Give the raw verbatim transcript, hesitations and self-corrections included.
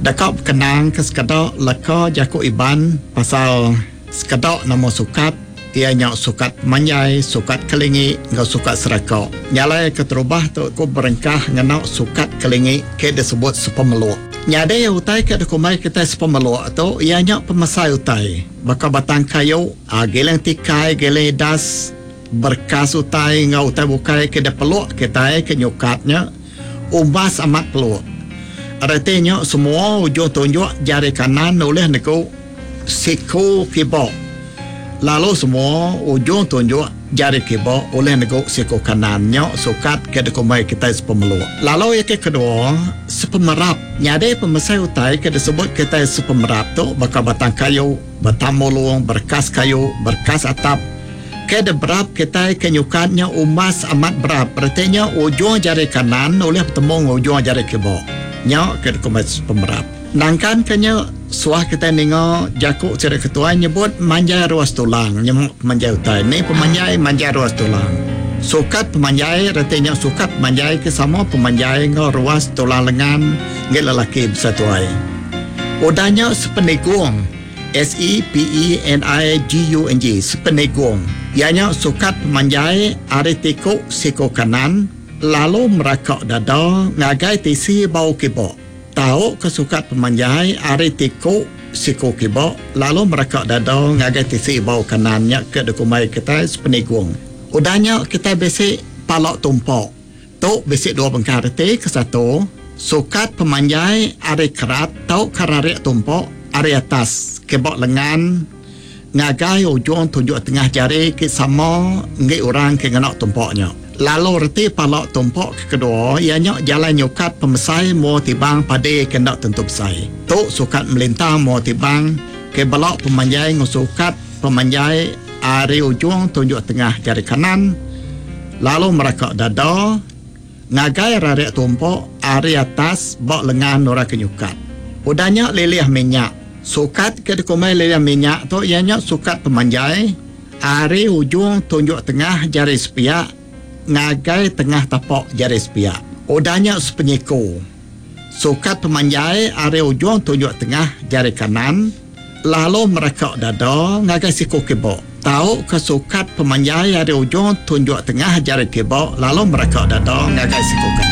Deka bekenang ke sekeda leka jaku Iban pasal sekeda nama sukat, iya nya sukat pemanjai, sukat kelingi enggau sukat seraka. Nya alai keterubah tu aku berengkah ngena sukat kelingi ke disebut sepemeluk. Nyadi utai ke dikumbai kitai sepemeluk tu iya nya pemesai utai baka batang kayu, giling tikai, giling idas, berkas utai enggau utai bukai ke dipeluk kitai ke nyukat nya umbas amat peluk. Reti nya semua ujung tunjuk jari kanan ulih negu siku kiba lalu semua ujung tunjuk jari kiba ulih negu siku kanan. Nya sukat ke dikumbai kitai sepemeluk. Lalu iya ke kedua, sepemerap. Nyadi pemesai utai ke disebut kitai sepemerap tu baka batang kayu, batang mulung, berkas kayu, berkas atap ke diberap kitai ke nyukat nya umbas amat berap. Reti nya ujung jari kanan ulih betemu enggau ujung jari kiba. Nya ke dikumbai sepemerap. Nangkan ke nya, suah kitai ninga jaku sida ketuai nyebut manjai ruas tulang nyema pemanjai utai. Ni pemanjai manjai ruas tulang. Sukat pemanjai reti nya sukat pemanjai ke sama pemanjai enggau ruas tulang lengan enggi lelaki besai tuai. Udah nya sepenigung, S E P E N I G U N G, sepenigung, iya nya sukat pemanjai ari tiku siku kanan lalu meraka dada ngagai tisi bau kiba. Tau ke sukat pemanjai ari tiku siku kiba lalu meraka dada ngagai tisi bau kanan nya ke dikumbai kitai sepenigung. Udah nya kitai bisi pala tumpok. Tu bisi dua bengkah reti. Kesatu, sukat pemanjai ari kerat tauka rarik tumpok ari atas kiba lengan ngagai ujung tunjuk tengah jari ke sama enggi orang ke ngena tumpok nya. Lalu reti pala tumpok ke kedua iya nya jalai nyukat pemesai mua tibang padi ke enda tentu besai. Tu sukat melintang mua tibang ke bela pemanjai enggau sukat pemanjai ari ujung tunjuk tengah jari kanan lalu meraka dada ngagai rarik tumpok ari atas ba lengan orang ke nyukat. Udah nya lilih minyak. Sukat ke dikumbai lilih minyak tu iya nya sukat pemanjai ari ujung tunjuk tengah jari sepiak ngagai tengah tapak jari sepiak. Udah nya sepenyiku. Sukat pemanjai ari ujung tunjuk tengah jari kanan lalu meraka dada ngagai siku kiba. Tau ke sukat pemanjai ari ujung tunjuk tengah jari kiba lalu meraka dada ngagai siku kanan.